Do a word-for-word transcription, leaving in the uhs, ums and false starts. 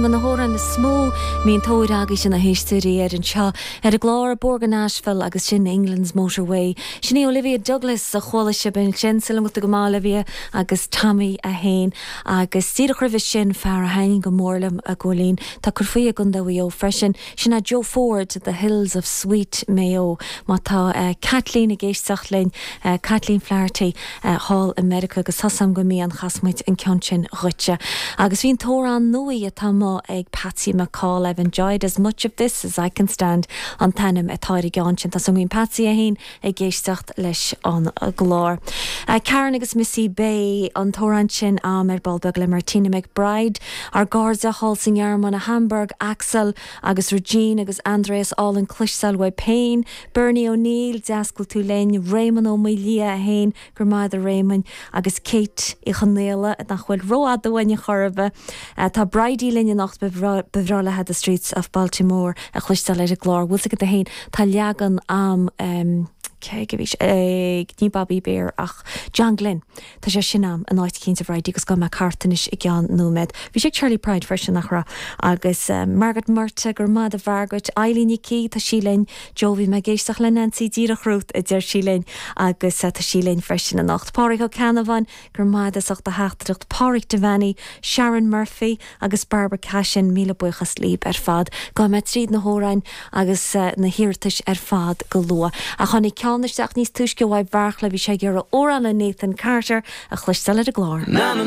Na hamhráin is mó mbíonn tóir agaibhse na héisteoirí air anseo ar an gclár Bóthar go Nashville agus sin England's Motorway. Sin í Olivia Douglas a chuala sibh ansin silim go maith Olivia agus Tommy a haon agus díreach roimhe sin fear a thaitníonn go mór liom a ggóilín Tá cur faoi i gContae Mhaigh Eo freisin sin é Joe Ford the Hills of Sweet Mayo má tá uh, Kathleen ag éisteacht linn uh, Kathleen Flaherty uh, thall i Meiriceá agus tasam go mí an chasmuid an ceann sin dhuitse. Agus bhín t-amhrán nua atá má ag Patsy McCall I've enjoyed as much of this as I can stand an t-ainm atá ar an gceann sin Tá an Patsy a haon ag éisteacht leis an gclár. Uh, Karen agus Missy Bay an t-amhrán sin am ar ball beag le Martina McBride, ár gcairde thall sa nGearmáin Hamburg, Axel agus Regine agus Andreas Allen cloisteáil uaibh féin, Bernie O'Neill deascail tú linn, Raymond ó Lia a haon gur maith a Raymond agus Kate i chonéile nach bhfuil rófhada chorbe. Uh, tá Bridie linn anocht b'bhreá léi the streets of Baltimore a chloisteáil ar an gclár, Bhfuil go haon tá leagan am um, cé go bhí ag ní Bobby Bear ach John Glenn Tá sé sin am an áit cinnte Bridie agus go me cartanis i gceann nóiméad. Bhí sé Charley Pride freisin nachra agus um, Margaret Murta gur mad a Mhargaret Eileen Nicí tá sí linn Jovi me géisteach le Nancy díreach romhat a deir sí linn agus uh, tá sí linn freisin anocht. Pádraig Ó Ceannabháin gur maith as ucht a theachtaireacht Pádraig Devaney, Sharon Murphy agus Barbara Cashin míle buíochas libh ar fad, Go me tríd na hamhráin agus uh, na hiarratais ar fad go luath. A tháinig ceann isteach níos túisce uaidh Bheartla bhí sé gur órán le Nathan Carter a chloisteáil ar an gclár. Na na